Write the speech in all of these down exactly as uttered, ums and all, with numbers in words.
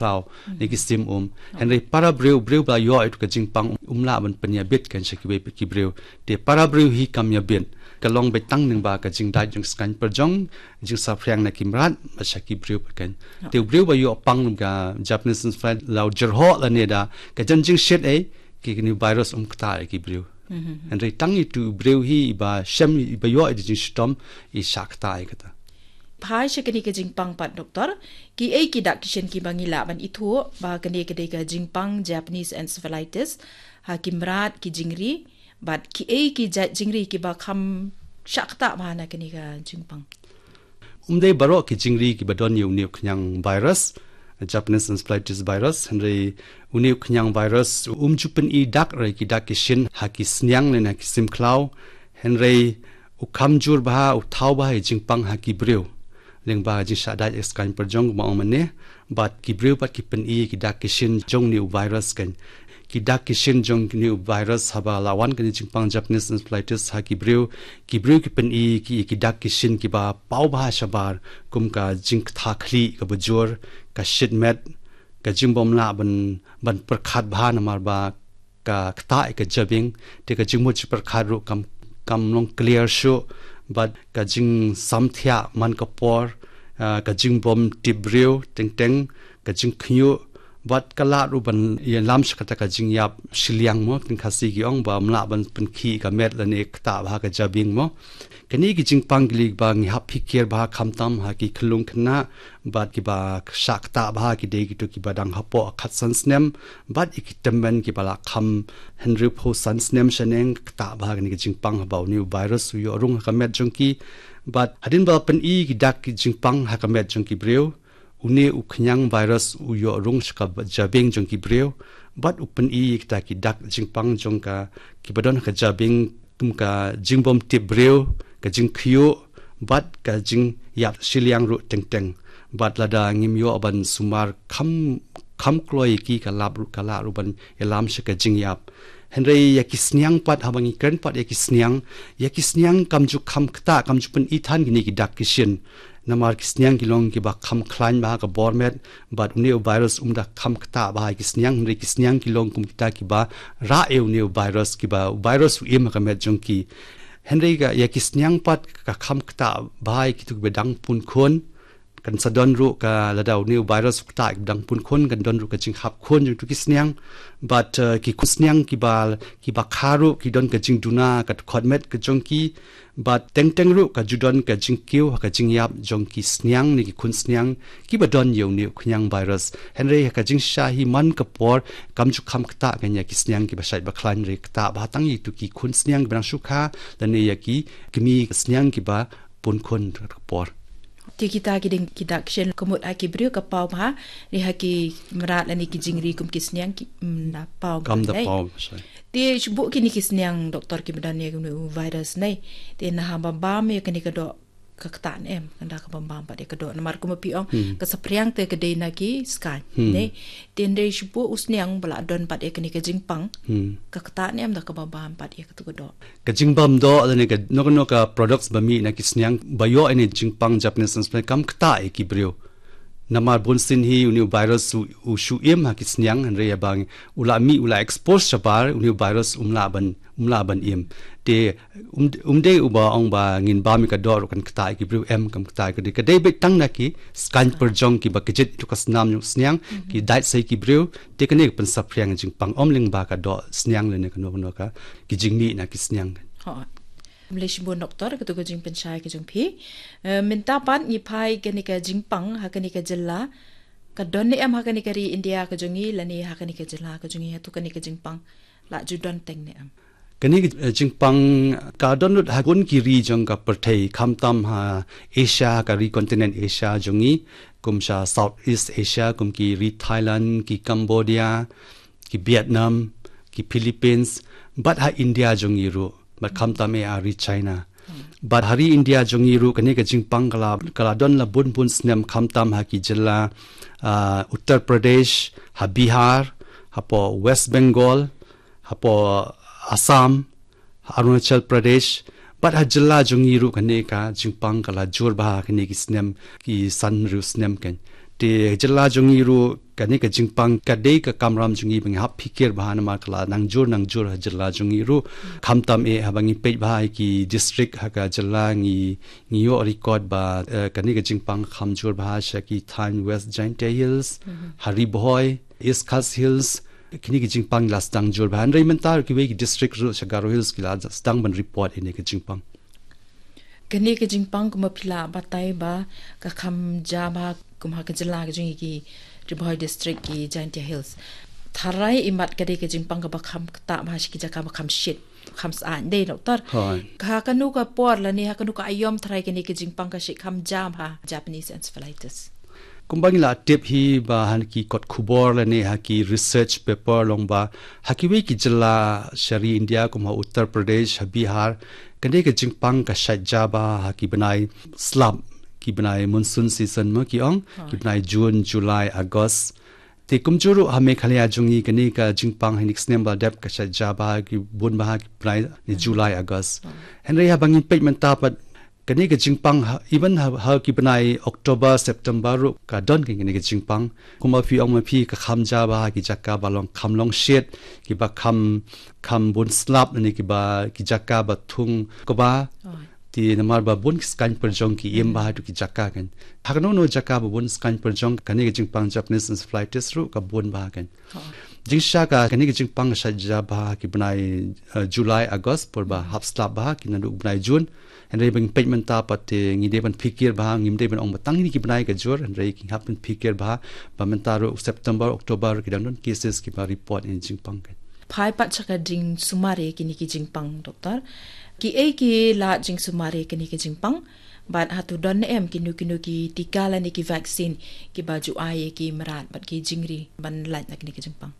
Tau, ne ki sim um. Hynrei para briew, briew ba ïoh ïa ka jingpang um lah ban pynïabit kan sha kiwei pat ki briew. Te para briew hi kam ïabit. Ka long beit tang lyngba ka jingdait jong skaiñ pyrjong, jingsaphriang na ki mrad, bad sha ki briew pat kan. Te u briew ba ïoh pang ka Japanese encephalitis la u jyrhoh lane da ka jan jingshit ei, ki kini virus um ktah ïa ki briew. Hynrei tang itu u briew hi iba shem iba ïoh ïa ka jingshitom i shah ktah ïa kata. Phai sha kane ka jingpang pat doktor, kiei ki dak ki shin kiba ngi lah ban ithuh ba kane ka dei ka jingpang Japanese encephalitis ha ki mrad ki jingri, bad kiei ki jait jingri kiba kham shah ktah bha na kane ka jingpang? Um dei baroh ki jingri kiba don ïa une u khñiang virus, Japanese encephalitis virus, hynrei une u khñiang virus um ju pyni dak re ki dak ki shin ha ki sniang ne ha ki sim khlaw, hynrei u kham jur bha, u thaw bha ïa jingpang ha ki briew. Lyngba ka jingshah dait ïa skaiñ pyrjong kumba ong mynne, bad ki briew pat ki pyni ki dak ki shin jong une u virus kan. Ki dak ki shin jong une u virus haba la wan kane ka jingpang Japanese encephalitis ha ki briew, ki briew ki pyni ki, ki dak ki shin kiba paw bha shabar, kum ka jingktah khlieh kaba jur, ka shit met, ka jingbym lah ban, ban pyrkhat bha namar ba ka ktah ïa ka jabieng, te ka jingmut jingpyrkhat ruh kam, kam long clear shuh, bad ka jingsamthiah man ka por, ah, ka jingbym tip briew teng teng, ka jingkhñiuh, bad ka lah ruh ban ïalam sha kata ka jingïap shiliang mo, teng Khasi ki ong bym lah ban pynkhih ka met lane ktah bha ka jabieng mo. Kane ki jingpang ki lei ba ngi hap phikir bha khamtam ha ki khyllung khynnah, bad kiba shah ktah bha ki dei kito kiba dang hapoh khatsan snem, bad ïa ki tymmen kiba la kham hynriewphew san snem shaneng, ktah bha kane ka jingpang haba une u virus u ïoh rung ha ka met jong ki, bad hadien ba pyni ki dak ki jingpang ha ka met jong ki briew, une u khñiang virus u ïoh rung sha ka jabieng jong ki briew, bad u pyni kita ki dak jingpang jong ka kiba don ha ka jabieng, kum ka jingbym tip briew, ka jingkhñiuh, bad ka jingïap shiliang ruh teng teng. Bad lada ngim ïoh ban sumar kham, kham kloi ïa ki, ka lah ruh, ka lah ruh ban ïalam sha ka jingïap. Hynrei ïa ki sniang pat, haba ngi kren pat ïa ki sniang, ïa ki sniang kam ju kham ktah, kam ju pyni than kine ki dak ki shin. Namar ki sniang ki long kiba kham khlaiñ bha ha ka bor met, bad une u virus um da kham ktah bha ïa ki sniang, hynrei ki sniang ki long kum kita kiba rah ïa une u virus, kiba u virus u im ha ka met jong ki. Hynrei ka, ïa ki sniang pat ka kham ktah bha ïa kito kiba dang pun khun. Kan sa don ruh ka, lada une u virus u ktah ïa kiba dang pun khun, kan don ruh ka jinghap khun jong kito ki sniang. Bad, eh, ki khun sniang kiba, kiba kha ruh ki don ka jingduna ka dkhot met ka jong ki. Bad teng teng ruh ka ju don ka jingkiew ha ka jingïap jong ki sniang ne ki khun sniang kiba don ïa une u khñiang virus. Hynrei ha ka jingshisha hi man ka por kam ju kham ktah kan ïa ki sniang kiba shait ba khlaiñ, hynrei ktah bha tang ïa kito ki khun sniang kiba dang shu kha lane ïa ki kmie sniang kiba pun khun ha ka por. Te kita ki ding ki dak shin ka mut ha ki briew ka paw bha, ne ha ki mrad lane ki jingri kum ki sniang ki, mm, da paw bha, kam da paw bha shai. Te shu buh kine ki sniang doktor kiba don ïa une u virus ne. Te naha bam bam ïa kane ka doh ka ktah ne em, kan da ka bam bam pat ïa ka doh. Namar kumba phi ong, hmm, ka saphriang te ka dei na ki skaiñ, hmm, ne. Te hynrei shu buh u sniang ba la don pat ïa kane ka jingpang, hmm, ka ktah ne em da ka bam bam pat ïa katu ka doh. Ka jingbam doh lane kano kano ka products ba mih na ki sniang ba ïoh ïa une u jingpang Japanese encephalitis kam ktah ïa ki briew. Namar bunsien hi une u virus u, u shu im ha ki sniang, hynrei haba u la mih, u la expose shabar, une u virus um lah ban, um lah ban im. Te um, um dei uba ong ba ngin bam ïa ka doh ruh kan ktah ïa ki briew, em, kam ktah ïa ki briew. Ka dei beit tang na ki skaiñ pyrjong kiba kjit ïa ka snam jong sniang, mhm, ki dait sa ïa ki briew, te kane ka pynsaphriang jingpang, ym lyngba ka doh sniang lane kano kano ka ki jingmih na ki sniang. Hooid. Khublei shibun doktor, katu ka jingpynshai ka jong phi. Eh, mynta pat ngi phai kane ka jingpang ha kane ka jylla. Ka don ne em ha kane ka ri India ka jong ngi lane ha kane ka jylla ka jong ngi, hato kane ka jingpang la ju don teng ne em? Kane ka, eh, jingpang ka don lut ha bun ki ri jong ka pyrthei, khamtam ha Asia, ka ri continent Asia jong ngi, kum sha Southeast Asia, kum ki ri Thailand, ki Cambodia, ki Vietnam, ki Philippines, bad ha India jong ngi ruh, bad khamtam eh ha ri China. Bad ha ri India jong ngi ruh kane ka jingpang ka la, ka la don la bun bun snem, khamtam ha ki jylla, ah, Uttar Pradesh, ha Bihar, hapoh West Bengal, hapoh Assam, ha Arunachal Pradesh, bad ha jylla jong ngi ruh kane ka jingpang ka la jur bha kine ki snem, ki san hynriew snem kan. Te jylla jong ngi ruh kane ka jingpang ka dei ka kamram jong ngi ba ngi hap phikir bha namar ka la nang jur nang jur ha jylla jong ngi ruh. Khamtam eh haba ngi peit bha ha ki district ha ka jylla ngi ngi ïoh record ba, eh, kane ka jingpang kham jur bha sha ki thaiñ West Jaintia Hills, ha Ri Bhoi, East Khasi Hills, kine ki jingpang la sdang jur bha. Hynrei mynta kiwei ki district ruh sha Garo Hills ki la sdang ban report ïa kane ka jingpang. Kane ka jingpang kumba phi la batai ba ka kham jia bha kum ha ka jylla ka jong ngi ki Ri Bhoi District, ki Jaintia Hills. Tharai imat ka dei ka jingpang kaba kham ktah bha sha ki jaka ba kham shit, kham sah dei, doktor. Hooid. Ha kano ka por lane ha kano ka aiom tharai kane ka jingpang ka shit kham jia bha Japanese encephalitis? Kumba ngi la tip hi ba ha ki kot khubor lane ha ki research paper long ba ha kiwei ki jylla sha ri India kum ha Uttar Pradesh, ha Bihar, kane ka jingpang ka shait jia bha ha ki bnai slap, ki bnai monsoon season mo ki ong, ki bnai June, July, August. Te kumjuh ruh ha Meghalaya jong ngi kane ka jingpang ha kine ki snem ba dep ka shait jia bha ha ki bun bha ha ki bnai ne July, August. Hynrei haba ngin peit mynta pat kane ka jingpang ha, even ha, ha ki bnai October, September ruh ka don kane ka jingpang. Kumba phi ong ma phi ka kham jia bha ha ki jaka ba long kham long shit, kiba kham, kham bun slap ne kiba ki jaka ba thung kba. Te namar ba bun ki skaiñ pyrjong ki im bha ha tu ki jaka kan. Ha kano kano jaka ba bun skaiñ pyrjong kane ka jingpang Japanese encephalitis ruh ka bun bha kan. Jingshisha ka kane ka jingpang ka shait jia bha ki bnai, eh, July, August por ba hap slap bha ki naduh bnai June. Hynrei ba ngin peit mynta pat te ngi dei ban phikir bha, ngim dei ban ong ba tang kine ki bnai ka jur, hynrei ki hap ban phikir bha ba mynta ruh September, October ki dang don cases kiba report ïa kane ka jingpang kan. Phai pat sha ka jingsumar ïa kine ki jingpang, doktor. Kiei ki lad jingsumar ïa kine ki jingpang? Bad hato don ne em kino kino ki tika lane ki vaccine kiba ju ai ïa ki mrad bad ki jingri ban lait na kine ki jingpang?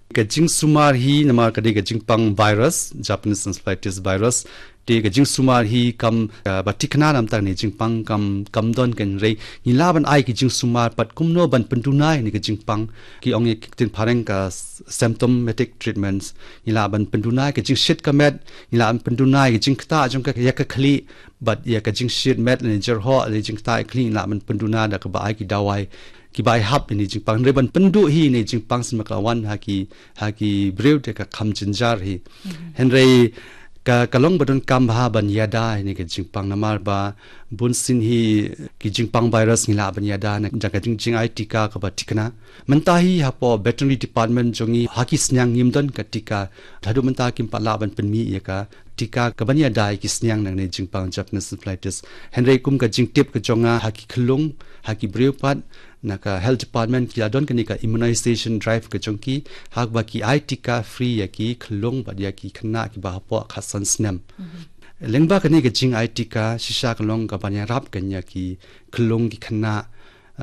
Ka jingsumar hi namar ka dei ka jingpang virus, Japanese encephalitis virus. Te ka jingsumar hi kam, ah, ba thikna namar kane ka jingpang kam, kam don kan, hynrei ngi lah ban ai ka jingsumar pat kumno ban pynduna ïa kane ka jingpang. Ki ong ïa ka ktien phareng ka s-, symptomatic treatments. Ngi lah ban pynduna ïa ka jingshit ka met, ngi lah ban pynduna ïa ka jingktah jong ka ïa ka khlieh, bad ïa ka jingshit met ne jyrhoh ne jingktah ïa ka khlieh ngi lah ban pynduna da kaba ai ki dawai kiba ai hap ïa kane ka jingpang. Hynrei ban pynduh hi ïa kane ka jingpang sngewbha ka la wan ha ki, ha ki briew te ka kham jynjar hi. Hynrei ka, ka long ba donkam bha ban ïada ïa kane ka jingpang namar ba bunsien hi ki jingpang virus ngi lah ban ïada na, da ka jing, jingai tika kaba thikna. Mynta hi hapoh veterinary department jong ngi ha ki sniang ngim don ka tika. Haduh mynta kim pat lah ban pynmih ïa ka tika kaban ïada ïa ki sniang na kane ka jingpang Japanese encephalitis. Hynrei kum ka jingtip ka jong nga ha ki khyllung, ha ki briew pat, na ka health department ki la don kane ka immunization drive ka jong ki, ha kaba ki ai tika free ïa ki khyllung bad ïa ki khynnah kiba hapoh khatsan snem. Lyngba kane ka jingai tika shisha ka long kaban ïarap kan ïa ki khyllung ki khynnah,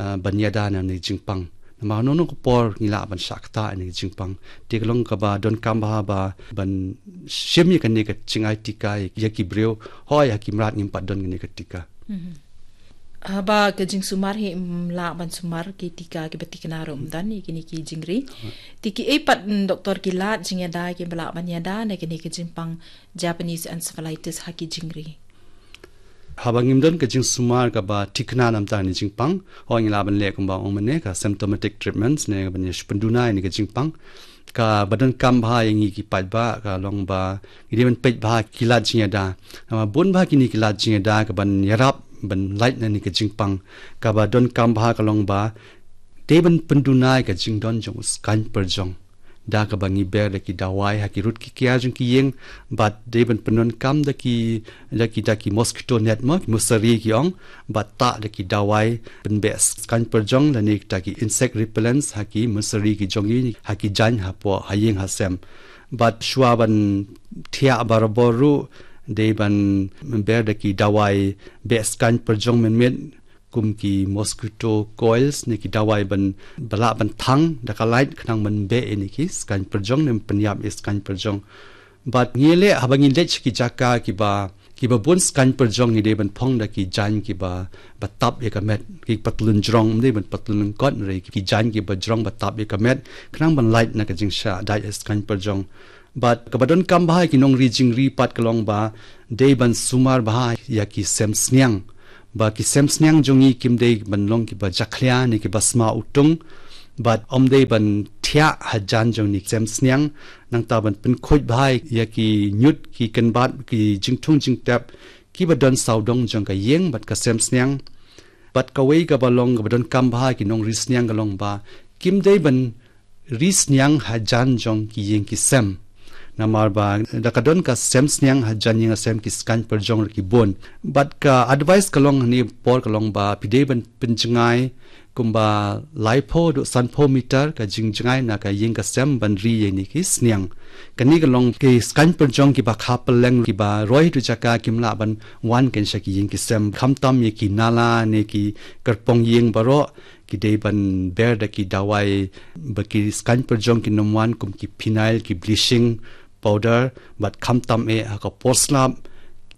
ah, ban ïada na kane ka jingpang. Namar hano hano ka por ngi lah ban shah ktah ïa kane ka jingpang. Te ka long kaba donkam bha ban shim ïa kane ka jingai tika ïa ki briew, hooid ha ki mrad ngim pat don kane ka tika. Haba ka jingsumar hi, mm, lah ban sumar ki tika kiba thikna ruh ym don ïa kine ki jingri. Te kiei pat, mm, doktor, ki lad jingïada kiba lah ban ïada na kane ka jingpang Japanese encephalitis ha ki jingri? Haba ngim don ka jingsumar kaba thikna namar kane ka jingpang, hooid ngi lah ban leh kumba ong mynne ka symptomatic treatments ne ban ïa pynduna ïa kane ka jingpang. Kaba donkam bha ïa ngi ki paidbah ka long ba ngi dei ban peit bha ki lad jingïada. Namar bun bha kine ki lad jingïada kaban ïarap ban lait na kane ka jingpang. Kaba donkam bha ka long ba dei ban pynduna ïa ka jingdon jong u skaiñ pyrjong da kaba ngi ber da ki dawai ha ki rud ki kiar jong ki ïing, bad dei ban pyndonkam da ki, da ki, da ki mosquito net mo, ki mosari ki ong, bad tah da ki dawai pynbeh skaiñ pyrjong lane da ki insect repellents ha ki mosari ki jong ngi, ha ki jaiñ hapoh ha ïing ha sem. Bad shuwa ban thiah barabor ruh dei ban ber da ki dawai beh skaiñ pyrjong mynmiet kum ki mosquito coils ne ki dawai ban, ba lah ban thang da ka light khnang ban beh ïa kine ki skaiñ pyrjong ne pynïap ïa skaiñ pyrjong. Bad ngi leh, haba ngi leit sha ki jaka kiba, kiba bun skaiñ pyrjong ngi dei ban phong da ki jaiñ kiba, ba tap ïa ka met, ki patlun jrong, ym dei ban patlun lyngkot, hynrei ki jaiñ kiba jrong ba tap ïa ka met khnang ban lait na ka jingshah dait ïa skaiñ pyrjong. Bad kaba donkam bha ïa ki nongri jingri pat ka long ba dei ban sumar bha ïa ki sem sniang. ba ki sem sniang jong ngi kim dei ban long kiba jakhlia ne kiba sma utung, bad ym dei ban thiah hajan jong ne ki sem sniang, nangta ban pynkhuid bha ïa ki ñiut ki kynbat ki jingthung jingtep kiba don sawdong jong ka ïing bad ka sem sniang. Bad kawei kaba long kaba donkam bha ki nongri sniang ka long ba kim dei ban ri sniang hajan jong ki ïing ki sem. Namar ba da ka don ka sem sniang hajan ïing sem ki skaiñ pyrjong ruh ki bun. Bad ka advice ka long hangne por ka long ba phi dei ban pynjngai kumba laiphew haduh sanphew meter ka jingjngai na ka ïing ka sem ban ri ïa ne ki sniang. Kane ka long ki skaiñ pyrjong kiba kha pylleng kiba roi tu jaka kim lah ban wan kein sha ki ïing ki sem. Khamtam ïa ki nala ne ki kyrpong ïing baroh ki dei ban ber da ki dawai ba ki skaiñ pyrjong kin ym wan kum ki phenyl, ki bleaching powder, bad khamtam eh ha ka por slap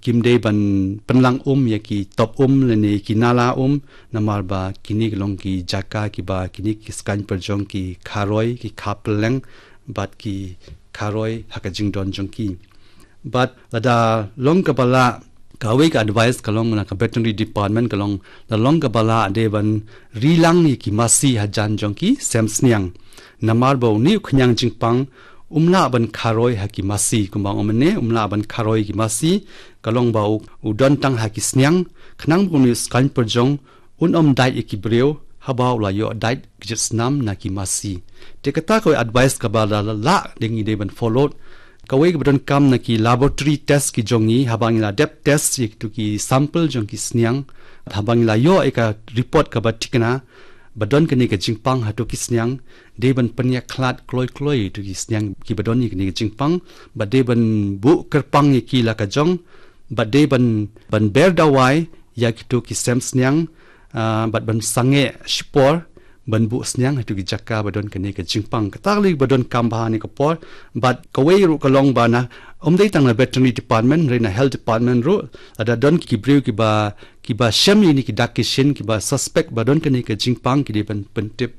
kim dei ban pynlang um ïa ki top um lane ki nala um, namar ba kine ki long ki jaka kiba kine ki skaiñ pyrjong ki kha roi, ki kha pylleng, bad ki kha roi ha ka jingdon jong ki. Bad lada long kaba lah, kawei ka advice ka long na ka veterinary department ka long, lada long kaba lah dei ban ri lang ïa ki masi hajan jong ki sem sniang. Namar ba une u khñiang jingpang um lah ban kha roi ha ki masi, kumba ong mynne um lah ban kha roi ki masi, ka long ba u, u don tang ha ki sniang, khnang ba une u skaiñ pyrjong un ym dait ïa ki briew haba u la ïoh dait kjit snam na ki masi. Te kata kawei advice kaba la, la, lah dei ngi dei ban follow. Kawei kaba donkam na ki laboratory test ki jong ngi, haba ngi la dep test ïa kitu ki sample jong ki sniang, haba ngi la ïoh ïa ka report kaba thikna ba don kane ka jingpang hatu ki sniang, dei ban pynïakhlad kloi kloi ïa kitu ki sniang kiba don ïa kane ka jingpang, bad dei ban buh kyrpang ïa ki la ka jong, bad dei ban, ban ber dawai ïa kitu ki sem sniang, ah, bad ban sangeh shipor ban buh sniang ha kitu ki jaka ba don kane ka jingpang. Kata ka long ba donkam bha ha kane ka por, bad kawei ruh ka long ba na, ym dei tang na veterinary department, hynrei na health department ruh, lada don ki briew kiba, kiba shem ïa kine ki dak ki shin, kiba suspect ba don kane ka jingpang, ki dei ban pyntip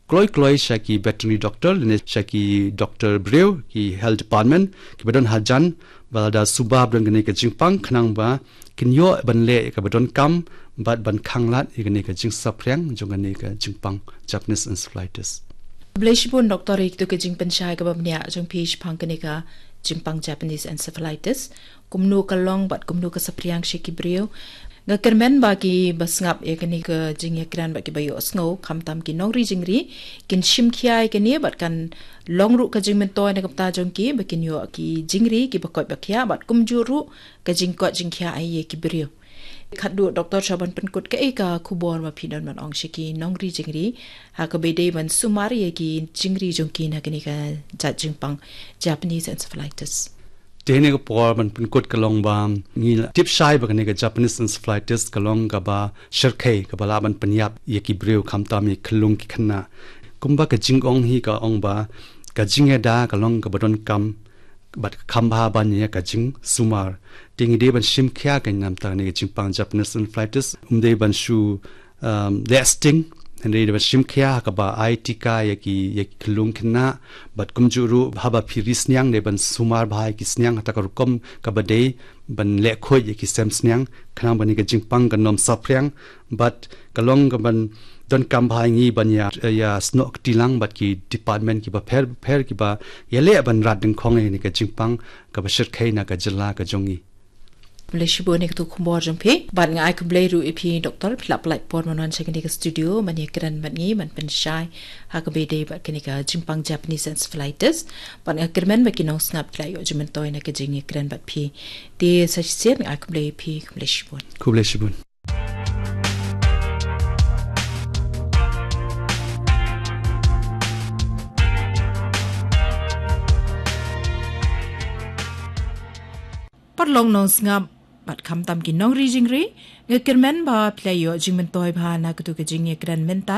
kloi kloi sha ki veterinary doctor, lane sha ki doktor briew, ki health department, kiba don hajan, ba lada suba ba don kane ka jingpang, khnang ba kin ïoh ban leh ïa kaba donkam, bad ban khanglad ïa kane ka jingsaphriang jong kane ka jingpang Japanese encephalitis. Khublei shibun Doktor ïa kitu ka jingpynshai kaba bniah jong phi shaphang kane ka jingpang Japanese encephalitis. Kumno ka long bad kumno ka saphriang sha ki briew. Nga kyrmen ba kiba sngap ïa kane ka jingïakren bad kiba ïohsngew khamtam ki nongri jingri kin shim khia ïa kane bad kan long ruh ka jingmyntoi na ka bynta jong ki ba kin ïoh ki jingri kiba koit ba khiah bad kumjuh ruh ka jingkoit jingkhiah ïa ki briew. Khatduh Doktor, sha ban pynkut, kaei ka khubor ba phi don ban ong sha ki nongri jingri ha kaba dei ban sumar ïa ki jingri jong ki na kane ka jait jingpang Japanese encephalitis? Te ha kane ka por ban pynkut ka long ba ngi la tip shai ba kane ka Japanese encephalitis ka long kaba shyrkhei, kaba lah ban pynïap ïa ki briew khamtam ïa ki khyllung ki khynnah. Kumba ka jingong hi ka ong ba ka jingïada ka long kaba donkam bad ka kham bha ban ïa ka jingsumar. Te ngi dei ban shim khia ka namar kane ka jingpang Japanese encephalitis, ym dei ban shu, um, leh sting, hynrei dei ban shim khia ha kaba ai tika ïa ki, ïa ki khyllung khynnah, bad kumjuh ruh haba phi ri sniang dei ban sumar bha ïa ki sniang ha kata ka rukom kaba dei, ban leh khuid ïa ki sem sniang, khnang ba kane ka jingpang kan ym saphriang, bad ka long kaban donkam bha ïa ngi ban ïa, ïa snoh kti lang bad ki department kiba pher pher kiba ïaleh ban rat dyngkhong ïa kane ka jingpang kaba shyrkhei na ka jylla ka jong ngi. Khublei shibun ïa katu ka khubor jong phi. Bad nga ai khublei ruh ïa phi Doktor, phi la pynlait por ban wan sha kane ka studio ban ïakren bad ngi, ban pynshai ha kaba dei bad kane ka jingpang Japanese encephalitis. Bad nga kyrmen ba ki nongsngap ki la ïoh jingmyntoi na ka jingïakren bad phi. Te sa shisien nga ai khublei ïa phi, khublei shibun. Khublei shibun. Paralok nongsngap bad khamtam ki nongri jingri, nga kyrmen ba phi la ïoh jingmyntoi bha na katu ka jingïakren mynta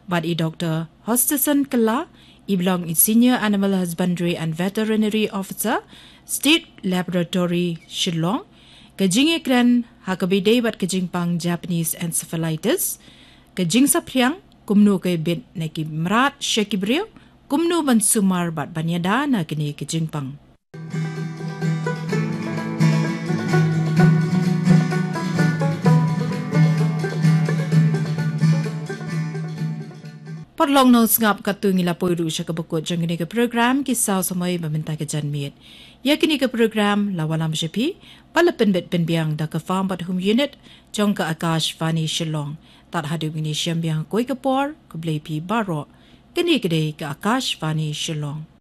bad i Doktor Hostison Kylla, i ba long i Senior Animal Husbandry and Veterinary Officer, State Laboratory, Shillong. Ka jingïakren ha kaba dei bad ka jingpang Japanese encephalitis, ka jingsaphriang, kumno ka bit na ki mrad sha ki briew, kumno ban sumar bad ban ïada na kane ka jingpang. Long nong sngap katto ngi la poi ruh sha kaba kut jong kane ka program ki saw samoi ba mynta ka janmiet. Ïa kane ka program la wallam sha phi ba la pynbit pynbiang da ka Farm bad Home Unit jong ka Akashvani Shillong. Tad haduh ngin ïashem biang ha kawei ka por, khublei phi baroh. Kane ka dei ka Akashvani Shillong.